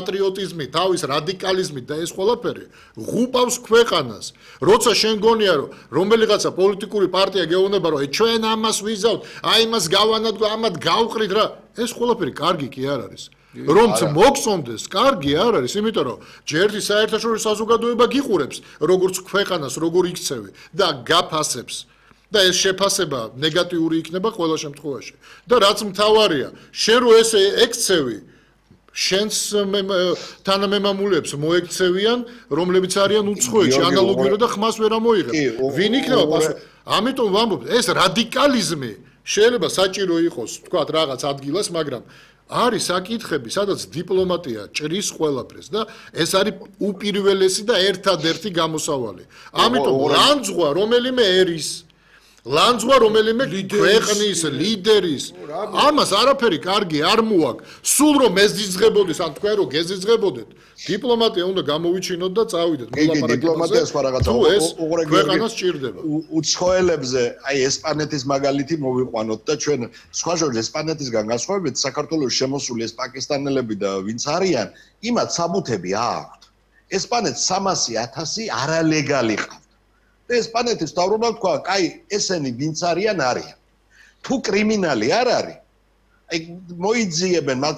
პატრიოტიზმი, თავის რადიკალიზმით და ეს ყველაფერი ღუპავს ქვეყანას. როცა შენ გონია რომ რომელიღაცა პოლიტიკური პარტია გეუბნება რომ ჩვენ ამას ვიზავთ, აი იმას გავანადგო, ამათ გავყრით რა, ეს ყველაფერი კარგი კი არ არის. რომც მოგწონდეს, კარგი არ არის, იმიტომ რომ ჯერთი საერთაშორისო საზოგადოება გიყურებს, როგორც ქვეყანას, როგორ იქცევი და გაფასებს. და ეს შეფასება ნეგატიური იქნება ყველა შემთხვევაში. და რაც მთავარია, შენ რო ესე ექცევი, შენს თანამემამულეებს მოექცევიან, რომლებიც არიან უცხოეთში, ანალოგიურად და ხმას ვერ ამოიღებს. ვინ იქნება პასუხი? ამიტომ ვამბობ, ეს რადიკალიზმი შეიძლება საჭირო იყოს, თქვათ, რაღაც ადგილას, მაგრამ არის საკითხები, სადაც დიპლომატია ჭრის ყველაფერს და ეს არის უპირველესი და ერთადერთი გამოსავალი. ამიტომ ლანძღვა რომელიმე ერის ლანძღვა რომელიმე ქვეყნის ლიდერის ამას არაფერი კარგი არ მოაქვს. სულ რომ მეზიძღებოდეს, ან თქვენ რომ გეზიძღებოდეთ, დიპლომატია უნდა გამოვიჩინოთ და წავიდეთ. დიპლომატია სხვა რაღაცა. ეს ქვეყანას ჭირდება. უცხოელებზე, აი ესპანეთის მაგალითი მოვიყვანოთ და ჩვენ სხვა შორის ესპანეთისგან განსხვავებით საქართველოს შემოსული ეს პაკისტანელები და ვინც არიან, იმათ საბუთები აქვთ. ესპანეთს 300,000 არალეგალი ყავთ. ესპანეთის თავრობამ თქვა, კაი, ესენი ვინც არიან არიან. თუ კრიმინალი არ არის, აი მოიძიებენ მათ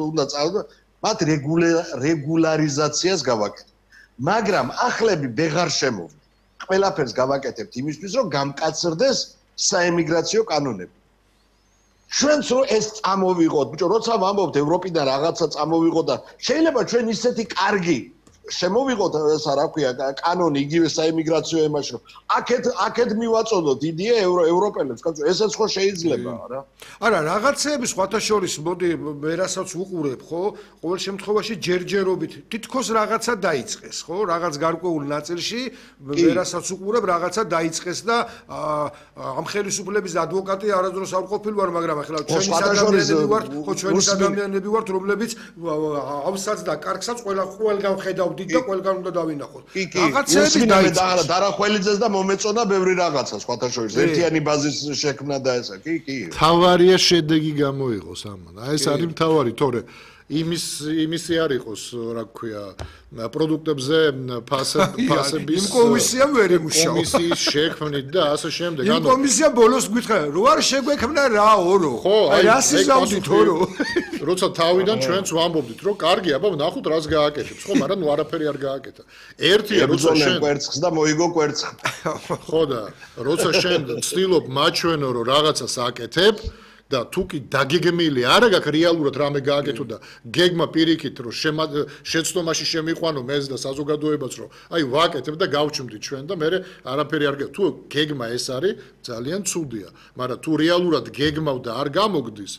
უნდა წავიდნენ, მათ რეგულარიზაციას გავაკეთებთ. მაგრამ ახლები ვეღარ შემოვიდა. ყველაფერს გავაკეთებთ იმისთვის, რომ გამკაცრდეს საემიგრაციო კანონები. ჩვენც რომ ეს წამოვიღოთ, ბიჭო, როცა ვამბობთ ევროპიდან რაღაცა წამოვიღოთ და შეიძლება ჩვენ ისეთი კარგი შემოვიღოთ ესა რა ქვია კანონი იგივე საემიგრაციო ემაში რომ აქეთ მივაწოდოთ იდეა ევროპელებს კაცო ესეც ხო შეიძლება რა არა რაღაცეების სხვათა შორის მოდი ვერასაც უყურებ ხო ყოველ შემთხვევაში ჯერჯერობით თითქოს რაღაცა დაიწყეს ხო რაღაც გარკვეულ ნაწილში ვერასაც უყურებ რაღაცა დაიწყეს და ამ ხელისუფლების ადვოკატი არასდროს არ ყოფილი ვარ მაგრამ ახლა ჩვენი ადამიანები ვართ ხო ჩვენი ადამიანები ვართ რომლებიც ავსაც და კარგსაც ყველგან ხედავ და ყველგან უნდა დავინახოთ. რაღაცები დაიწყეს. დარახველიძეს და მომეწონა ბევრი რაღაცა სხვათა შორის. ერთიანი ბაზის შექმნა და ესა. კი. თავარია შედეგი გამოიღოს ამან. აი ეს არის მთავარი, თორე იმისი არ იყოს, რა ქვია, პროდუქტებზე ფასების იმ კომისიამ ვერ იმუშავა. კომისიის შექმნით და ასე შემდეგ. იმ კომისია ბოლოს გითხრა, რო არ შეგვექმნა რა ორო. აი რას იზავდით ორო. როცა თავიდან ჩვენც ვამბობდით, რომ კარგი, აბა ვნახოთ რას გააკეთებს, ხო, მაგრამ ნუ არაფერი არ გააკეთა. ერთია, როცა შენ კვერცხს და მოიგო კვერცხი. ხო და როცა შენ ცდილობ მაჩვენო, რომ რაღაცას აკეთებ და თუ კი დაგეგმილი არა გაქვს რეალურად რამე გააკეთო და გეგმა პირიქით რომ შეცდომაში შემიყვანო მეზ და საზოგადოებაც რომ აი ვაკეთებ და გავჩვდით ჩვენ და მე არაფერი არ თუ გეგმა ეს არის ძალიან ცუდია მაგრამ თუ რეალურად გეგმავ და არ გამოგდის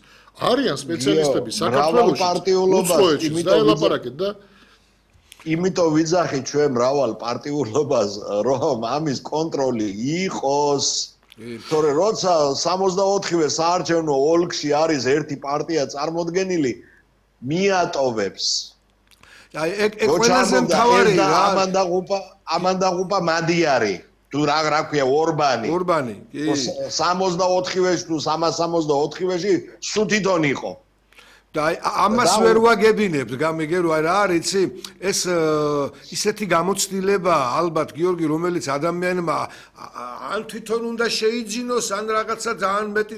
არიან სპეციალისტები საქართველოს პარტიულობას და ელაპარაკეთ და იმიტომ ვიძახით ჩვენ მრავალ პარტიულობას რომ ამის კონტროლი იყოს თორე როცა 64-ვე საარჩევნო ოლქში არის ერთი პარტია წარმოდგენილი მიატოვებს აი ეგ ყველაზე მთავარი რა ამან დაღუპა მადიარი თუ რა ქვია ორბანი კი 64-ვეში თუ 364-ვეში სუთითონ იყო და ამას ვერ ვაგებინებთ გამიგე რომ რა არის იცი ეს ისეთი გამოცდილება ალბათ გიორგი რომელიც ადამიანმა ან თვითონ უნდა შეიძინოს ან რაღაცა ძალიან მეტი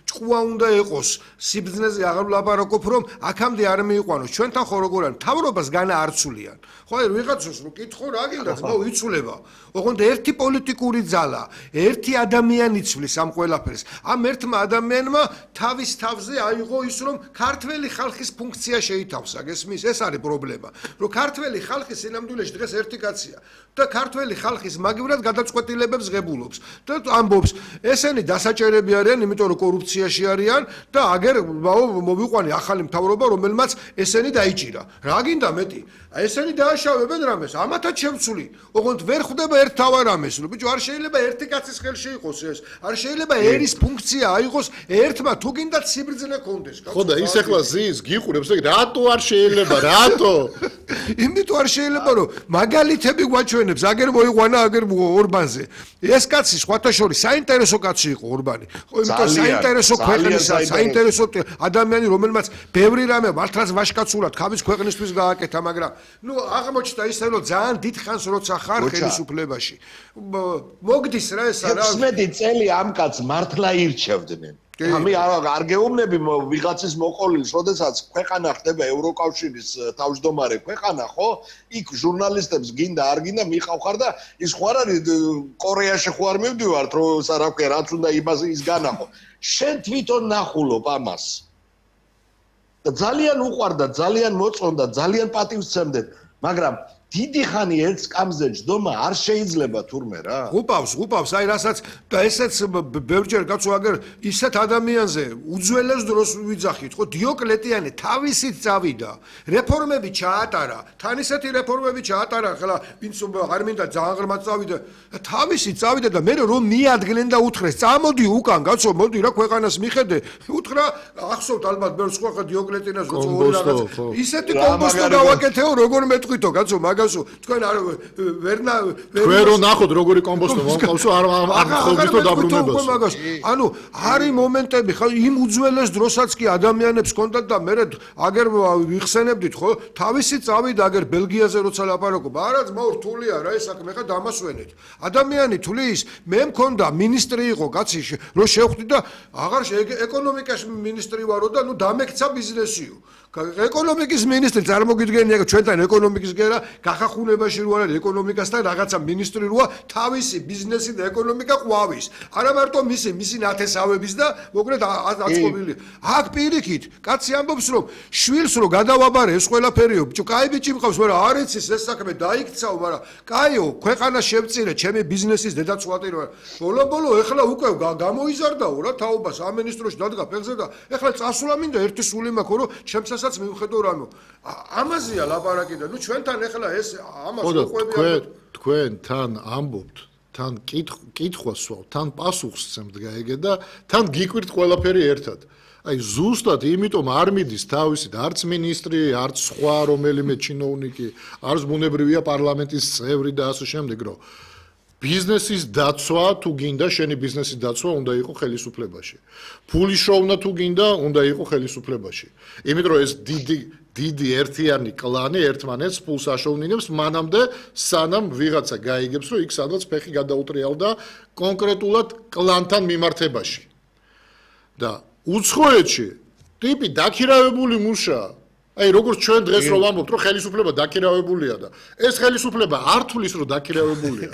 ჭკუა უნდა იყოს სიბრძნეზე აღარ ვლაპარაკობ რომ აქამდე არ მიიყვანოს ჩვენთან ხო როგორ არის მთავრობას განა არცულიან ხო აი ვიღაცას რო კითხო რა გინდა ხო იცულება ოღონდ ერთი პოლიტიკური ძალა ერთი ადამიანი იცვლის ამ ყველაფერს ამ ერთმა ადამიანმა თავის თავზე აიღო ის რომ ქართველი ხალხის ფუნქცია შეითავსა გესმის ეს არის პრობლემა რომ ქართველი ხალხი სინამდვილეში დღეს ერთი კაცია და ქართველი ხალხის მაგივრად გადაწყვეტილებებს ღებულობს და ამბობს ესენი დასაჭერები არიან იმიტომ რომ კორუფციაში არიან და აგერ მოვიყვანი ახალი მთავრობა რომელმაც ესენი დაიჭირა რა გინდა მეტი ესენი დააშავებენ რამეს ამათაც შევცვლი ოღონდ ვერ ხვდება ერთ თავარ ამეს რომ ბიჭო არ შეიძლება ერთი კაცის ხელში იყოს ეს არ შეიძლება ერის ფუნქცია აიღოს ერთმა თუ გინდათ სიბრძნე კონდეს ხო და ის ახლა ზის გიყურებს, რატო არ შეიძლება, რატო? იმიტომ არ შეიძლება რომ მაგალითები გვაჩვენებს, აგერ მოიყვანა აგერ ორბანზე. ეს კაცი სხვათა შორის საინტერესო კაცი იყო ორბანი. ხო, იმიტომ საინტერესო ქვეყნისა, საინტერესო ადამიანი, რომელმაც ბევრი რამე მართლაც ვაშკაცურად ხაბის ქვეყნისთვის გააკეთა, მაგრამ ნუ აღმოჩნდა ისე რომ ძალიან დიდ ხანს როცა ხარ ხელისუფლებაში. მოგდის რა ეს რა 16 წელი ამ კაცს მართლა ირჩევდნენ. ამი არ გეუბნები ვიღაცის მოყოლის, როდესაც ქვეყანა ხდება ევროკავშირის თავმჯდომარე ქვეყანა, ხო? იქ ჟურნალისტებს გინდა არ გინდა მიყავხარ და ის ხო არ არის კორეაში ხო არ მივდივართ, რომ რა ვქე, რაც უნდა ის განახო. შენ თვითონ ნახულობ ამას. და ძალიან უყვარდა, ძალიან მოწონდა, ძალიან პატივს სცემდნენ, მაგრამ დიდი ხანი ერთ სკამზე ჯდომა არ შეიძლება თურმე რა. უპავს, აი რასაც და ესეც ბევრჯერ კაცო აგერ ისეთ ადამიანზე უძველეს დროს ვიძახით, ხო დიოკლეტიანი თავისით წავიდა, რეფორმები ჩაატარა, თან ისეთი რეფორმები ჩაატარა, ხლა ვინც არ მინდა ძალიან ღრმად წავიდა, თავისით წავიდა და მე რომ მიადგნენ და უთხრეს, წამოდი უკან, კაცო, მოდი რა ქვეყანას მიხედე, უთხრა, ახსოვთ ალბათ ბევრ სხვა დიოკლეტიანას როცა ორი რაღაც ისეთი კომპოსტო გავაკეთეო, როგორ მეტყვითო, კაცო, თქვენ არ ვერ ნახოთ როგორი კომპოსტო მომყავსო არ ხოვდითო დაბრუნებას. ანუ არის მომენტები ხო იმ უძველეს დროსაც კი ადამიანებს ჰქონდათ და მე აგერ ვიხსენებდით ხო თავისი წავიდა აგერ ბელგიაზე როცა ლაპარაკობ არა ძმაო რთულია რა ეს საქმე ხა დამასვენეთ. ადამიანი თulis მე მქონდა მინისტრი იყო კაცი რო შევხვდი და აღარ ეკონომიკაში მინისტრი ვარო და ნუ დამექცა ბიზნესიო. ეკონომიკის მინისტრი წარმოგიდგენია ჩვენთან ეკონომიკის გერა გახახუნებაში რო არის ეკონომიკასთან რაღაცა მინისტრი როა თავისი ბიზნესი და ეკონომიკა ყვავის არა მარტო მისი ნათესავების და მოკლედ აწყობილი აქ პირიქით კაცი ამბობს რომ შვილს რო გადავაბარე ეს ყველაფერიო ბიჭო კაი ბიჭი მყავს მაგრამ არ იცის ეს საქმე დაიქცაო მაგრამ კაიო ქვეყანა შევწირე ჩემი ბიზნესის დედაცვატი რო ბოლო ეხლა უკვე გამოიზარდაო რა თაობას ამ მინისტროში დადგა ფეხზე და ეხლა წასულა მინდა ერთი სული მაქვს რომ ჩემს საც მივხედო რამო ამაზეა ლაპარაკი და ნუ ჩვენთან ეხლა ეს ამას უყვები თქვენ თან ამბობთ თან კითხვას სვავთ თან პასუხს სცემთ გაიგე და თან გიკვირთ ყველაფერი ერთად აი ზუსტად იმიტომ არ მიდის თავისით არც მინისტრი არც სხვა რომელიმე ჩინოვნიკი არც ბუნებრივია პარლამენტის წევრი და ასე შემდეგ რომ ბიზნესის დაცვა თუ გინდა შენი ბიზნესის დაცვა უნდა იყოს ხელისუფლებაში. ფულის შოვნა თუ გინდა უნდა იყოს ხელისუფლებაში. იმიტომ რომ ეს დიდი ერთიანი კლანი ერთმანეთს ფულს აშოვნინებს მანამდე სანამ ვიღაცა გაიგებს რომ იქ სადაც ფეხი გადაუტრიალდა კონკრეტულად კლანთან მიმართებაში. და უცხოეთში ტიპი დაქირავებული მუშაა აი როგორც ჩვენ დღეს რომ ვამბობთ რომ ხელისუფლება დაქირავებულია და ეს ხელისუფლება არ თulis რომ დაქირავებულია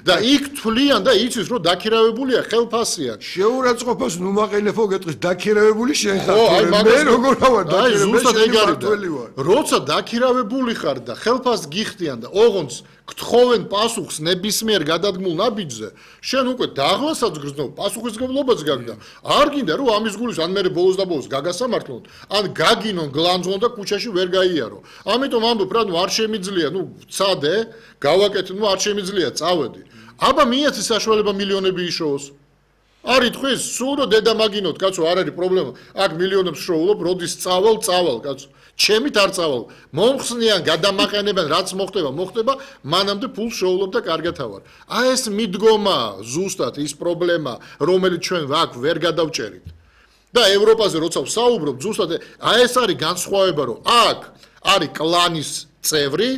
და იქ თვლიან და იცის რომ დაქირავებულია ხელფასია შეურაცხყოფას ნუ მაყენებო გეტყვის დაქირავებული შენ ხარ მე როგორ ვარ დაქირავებული როცა დაქირავებული ხარ და ხელფასს გიხდიან და ოღონდ გთხოვენ პასუხს ნებისმიერ გადადგმულ ნაბიჯზე შენ უკვე დაღლასაც გრძნობ პასუხისმგებლობაც გაგდა არ გინდა რომ ამის გულის ან მე ბოლოს და ბოლოს გაგასამართლონ ან გაგინონ გლანძღონ და ქუჩაში ვერ გაიარო ამიტომ ამბობ რა ნუ არ შემიძლია ნუ წადე გავაკეთე ნუ არ შემიძლია წავედი აბა მიეცი საშუალება მილიონები იშოვოს არ იტყვის სულ რომ დედა მაგინოთ კაცო არ არის პრობლემა აქ მილიონებს შოულობ როდის წავალ კაცო ჩემით არ წავალ მომხსნიან გადამაყენებენ რაც მოხდება მანამდე ფულს შოულობ და კარგად ავარ აი ეს მიდგომა ზუსტად ის პრობლემა რომელიც ჩვენ აქ ვერ გადავჭერით და ევროპაზე როცა ვსაუბრობ ზუსტად აი ეს არის განსხვავება რომ აქ არის კლანის წევრი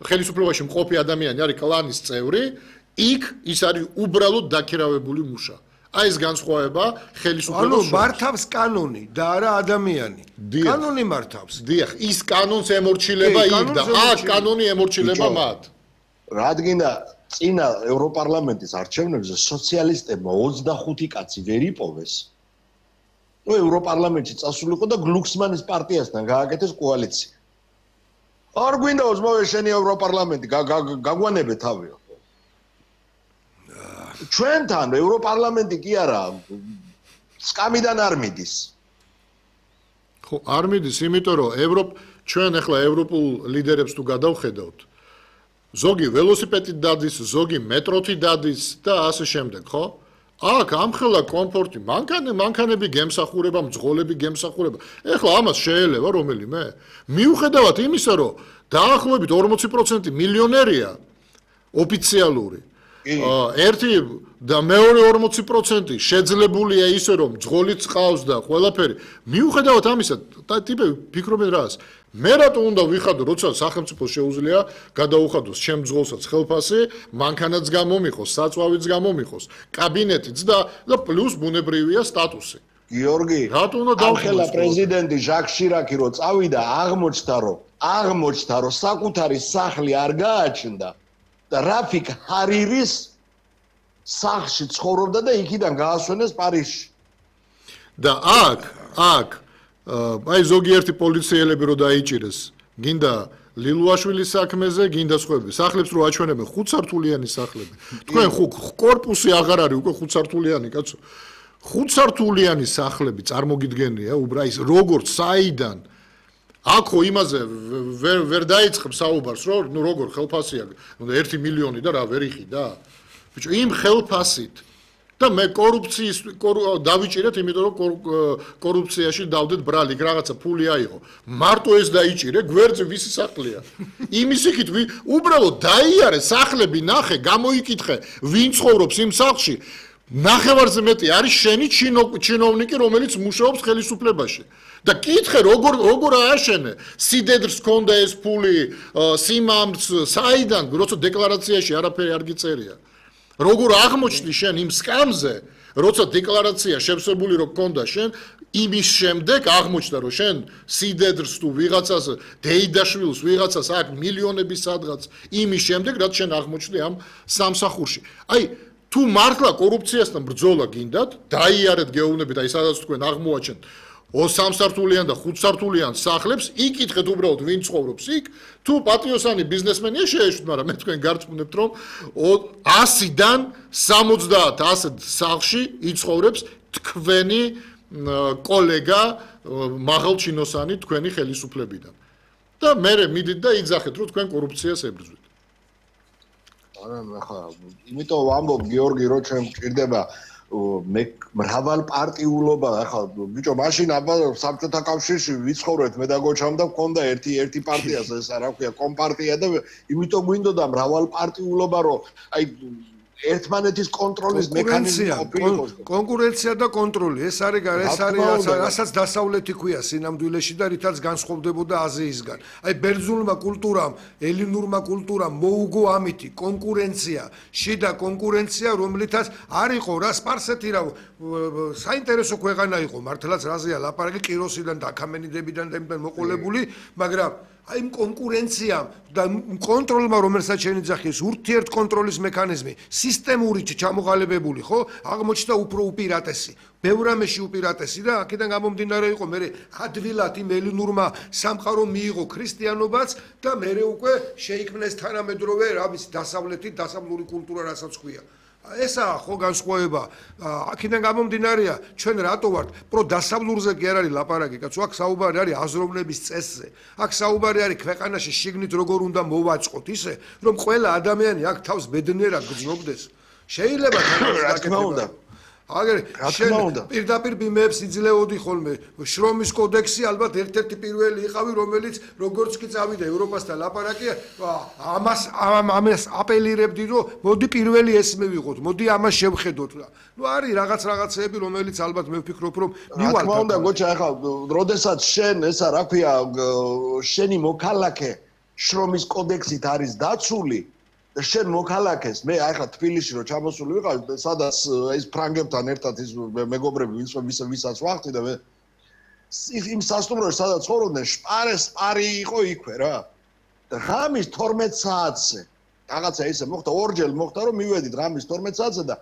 ხელისუფლებაში მყოფი ადამიანი არის კლანის წევრი იქ ის არის უბრალოდ დაქირავებული მუშა აი ეს განსხვავება ხელისუფლებას ანუ მართავს კანონი და არა ადამიანი კანონი მართავს დიახ ის კანონს ემორჩილება იქ და აქ კანონი ემორჩილება მათ რადგინა წინა ევროპარლამენტის არჩევნებზე სოციალისტებმა 25 კაცი ვერ იპოვეს ნუ ევროპარლამენტში წასულიყო და გლუქსმანის პარტიასთან გააკეთეს კოალიცია არ გვინდა ოზმოვე შენი ევროპარლამენტი გაგვანებე თავიო ჩვენთან ევროპარლამენტი კი არა სკამიდან არ მიდის ხო არ მიდის იმიტომ რომ ჩვენ ახლა ევროპულ ლიდერებს თუ გადავხედავთ ზოგი ველოსიპედით დადის ზოგი მეტროთი დადის და ასე შემდეგ ხო აქ ამხელა კომფორტი, მანქანები გემსახურება, მძღოლები გემსახურება. ეხლა ამას შეელევა რომელიმე? მიუხედავად იმისა, რომ დაახლოებით 40% მილიონერია ოფიციალური. ერთი და მეორე 40% შეძლებულია ისე რომ მძღოლიც ყავს და ყველაფერი. მიუხედავად ამისა, ტიპები ფიქრობენ რას? მე რატო უნდა ვიხადო, როცა სახელმწიფო შეუძლია გადაუხადოს ჩემ მძღოლსაც ხელფასი, მანქანაც გამომიყოს, საწვავიც გამომიყოს, კაბინეტიც და პლუს ბუნებრივია სტატუსი. გიორგი, რატო უნდა ახლა პრეზიდენტი ჟაკ შირაკი რო წავიდა, აღმოჩნდა რომ საკუთარი სახლი არ გააჩნდა და რაფიკ ჰარირის სახლში ცხოვრობდა და იქიდან გაასვენეს პარიზში. და აქ აი ზოგიერთი პოლიციელები რო დაიჭირეს, გინდა ლილუაშვილის საქმეზე, გინდა სხვები. სახლებს რო აჩვენებენ 5 სართულიანი სახლები. თქვენ კორპუსი აღარ არის უკვე 5 სართულიანი, კაცო. 5 სართულიანი სახლები წარმოგიდგენია, უბრალოდ როგორც საიდან აქო იმაზე ვერ დაიწყებს საუბარს, რომ ნუ როგორ ხელფასია, 1 მილიონი და რა ვერ იხიდა. ბიჭო, იმ ხელფასით და მე კორუფციის დავიჭირეთ, იმიტომ რომ კორუფციაში დავდეთ ბრალი, რაღაცა ფული აიღო. მარტო ეს დაიჭირე, გვერდზე ვისი სახლია. იმის იქით უბრალოდ დაიარე სახლები, ნახე, გამოიკითხე, ვინ ცხოვრობს იმ სახლში. ნახევარზე მეტი არის შენი ჩინოვნიკი, რომელიც მუშაობს ხელისუფლებაში. და კითხე, როგორ ააშენე? სიდედრს ქონდა ეს ფული, სიმამრს, საიდან, როცა დეკლარაციაში არაფერი არ გიწერია. როგორ აღმოჩნდი შენ იმ სკამზე, როცა დეკლარაცია შევსებული რო გქონდა შენ, იმის შემდეგ აღმოჩნდა რომ შენ სიდედრს თუ ვიღაცას დეიდაშვილს ვიღაცას აქ მილიონების სადღაც იმის შემდეგ რაც შენ აღმოჩნდი ამ სამსახურში. აი თუ მართლა კორუფციასთან ბრძოლა გინდათ, დაიარეთ გეუბნებით, აი სადაც თქვენ აღმოაჩენთ 3 სართულიან და 5 სართულიან სახლებს, იკითხეთ უბრალოდ ვინ ცხოვრობს იქ, თუ პატიოსანი ბიზნესმენია შეეშვით, მაგრამ მე თქვენ გარწმუნებთ რომ 100-დან 70 ასეთ სახლში იცხოვრებს თქვენი კოლეგა მაღალჩინოსანი თქვენი ხელისუფლებიდან. და მე მიდით და იძახეთ რომ თქვენ კორუფციას ებრძვით. არა, ახლა იმიტომ ვამბობ გიორგი, რომ ჩვენ მჭირდება მე მრავალ პარტიულობა, ახლა ბიჭო, მაშინ აბა საბჭოთა კავშირში ვიცხოვრეთ მე და გოჩამ და მქონდა ერთი პარტიას, ეს რა ქვია, კომპარტია და იმიტომ გვინდოდა მრავალ პარტიულობა, რომ აი ერთმანეთის კონტროლის მექანიზმი ყოფილიყოს. კონკურენცია და კონტროლი, ეს არის რასაც დასავლეთი ქვია სინამდვილეში და რითაც განსხვავდებოდა აზიისგან. აი ბერძნულმა კულტურამ, ელინურმა კულტურამ მოუგო ამითი კონკურენცია, შიდა კონკურენცია, რომლითაც არ იყო რა სპარსეთი რა საინტერესო ქვეყანა იყო, მართლაც რაზეა ლაპარაკი კიროსიდან და აქამენიდებიდან და იმდან მოყოლებული, მაგრამ აი იმ კონკურენციამ და კონტროლმა, რომელსაც შეიძახეს ურთიერთ კონტროლის მექანიზმი, სისტემური ჩამოყალიბებული, ხო? აღმოჩნდა უფრო უპირატესი, ბევრ რამეში უპირატესი და აქედან გამომდინარე იყო მე ადვილად იმ ელინურმა სამყარომ მიიღო ქრისტიანობაც და მე უკვე შეიქმნეს თანამედროვე რამის დასავლური კულტურა, რასაც ქვია. ესაა ხო განსხვავება. აქედან გამომდინარეა, ჩვენ რატო ვართ პროდასავლურზე კი არ არის ლაპარაკი, კაცო, აქ საუბარი არის აზროვნების წესზე. აქ საუბარი არის ქვეყანაში შიგნით როგორ უნდა მოვაწყოთ ისე, რომ ყველა ადამიანი აქ თავს ბედნიერად გრძნობდეს. შეიძლება რა თქმა უნდა. აგერ შენ პირდაპირ ბიმეებს იძლეოდი ხოლმე. შრომის კოდექსი ალბათ ერთ-ერთი პირველი იყავი, რომელიც როგორც კი წავიდა ევროპასთან ლაპარაკია, ამას აპელირებდი, რომ მოდი პირველი ეს მივიღოთ, მოდი ამას შევხედოთ რა. ნუ არის რაღაცეები, რომელიც ალბათ მე ვფიქრობ, რომ მივალთ. რა თქმა უნდა, გოჩა, ახლა როდესაც შენ ესა რა ქვია, შენი მოქალაქე შრომის კოდექსით არის დაცული და შენ მოქალაქეს, მე ახლა თბილისში რო ჩამოსული ვიყავ, სადაც ეს ფრანგებთან ერთად ის მეგობრები ვისაც ვახტი და მე იმ სასტუმროში სადაც ცხოვრობდნენ, სპარი იყო იქვე რა. და ღამის 12 საათზე რაღაცა ისე მოხდა, ორჯერ მოხდა რომ მივედით ღამის 12 საათზე და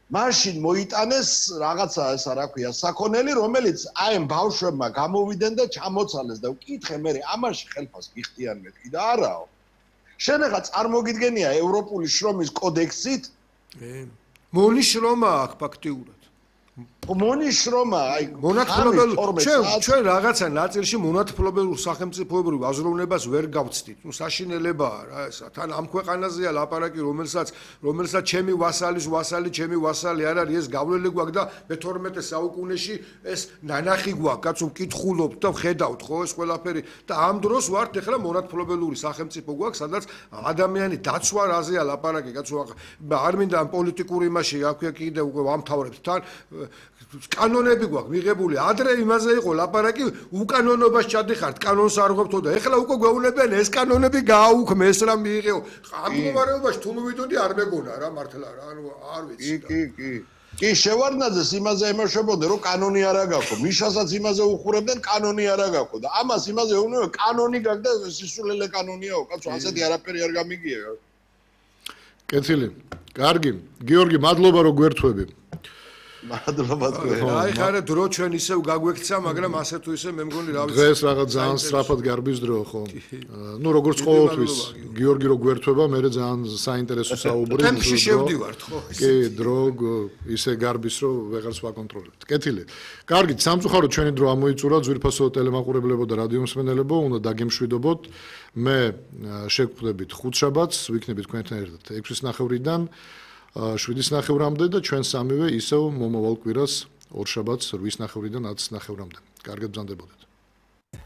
მაშინ მოიტანეს რაღაცა ესა რა ქვია, საქონელი, რომელიც აი ამ ბავშვებმა გამოვიდნენ და ჩამოცალეს და ვკითხე მე ამაში ხელფას გიხდიან მეთქი და არაო. შენ ახლა წარმოგიდგენია ევროპული შრომის კოდექსით? მოლი შრომა აქვს ფაქტიურად. მონიშრომა, აი მონათფლობელ ჩვენ რაღაცა ნაწილში მონათფლობელ სახელმწიფოებრივ აზროვნებას ვერ გავცდით. ნუ საშინელებაა რა ესა. თან ამ ქვეყანაზეა ლაპარაკი, რომელსაც ჩემი ვასალი, ჩემი ვასალი არ არის, ეს გავლილი გვაქვს და მე-12 საუკუნეში ეს ნანახი გვაქვს, კაცო მკითხულობთ და ხედავთ ხო ეს ყველაფერი და ამ დროს ვართ ეხლა მონათფლობელური სახელმწიფო გვაქვს, სადაც ადამიანი დაცვა რაზეა ლაპარაკი, კაცო არ მინდა ამ პოლიტიკური იმაში აქვე კიდე უკვე ვამთავრებთ თან კანონები გვაქვს მიღებული. ადრე იმაზე იყო ლაპარაკი, უკანონობას ჩადიხართ, კანონს არ ღვებთო და ეხლა უკვე გვეუბნებიან ეს კანონები გააუქმეს რა მიიღეო. ამ მდგომარეობაში თუ მივიდოდი არ მეგონა რა მართლა რა, ანუ არ ვიცი. კი, შევარდნაძეს იმაზე ემოშებოდნენ, რომ კანონი არა გაქვთ. მიშასაც იმაზე უხურებდნენ, კანონი არა გაქვთ და ამას იმაზე ეუბნებიან, კანონი გაქვს და სისულელე კანონიაო, კაცო, ასეთი არაფერი არ გამიგია. კეთილი. კარგი. გიორგი, მადლობა რომ გვერთვები. მადლობა თქვენ. აი ხარა დრო ჩვენ ისევ გაგვექცა, მაგრამ ასე თუ ისე მე მგონი რა ვიცი. დღეს რაღაც ძალიან სწრაფად გარბის დრო ხო? ნუ როგორც ყოველთვის გიორგი რო გვერთვება, მე ძალიან საინტერესო საუბარი. ტემპში შევდივართ ხო? კი, დრო ისე გარბის რომ ვეღარც ვაკონტროლებთ. კეთილი. კარგით, სამწუხაროდ ჩვენი დრო ამოიწურა, ძვირფასო ტელემაყურებლებო და რადიო მსმენელებო, უნდა დაგემშვიდობოთ. მე შეგხვდებით ხუთშაბათს, ვიქნებით თქვენთან ერთად 6:30-დან 7:30-მდე და ჩვენ სამივე ისევ მომავალ კვირას ორშაბათს 8:30-დან 10:30-მდე. კარგად ბრძანდებოდეთ.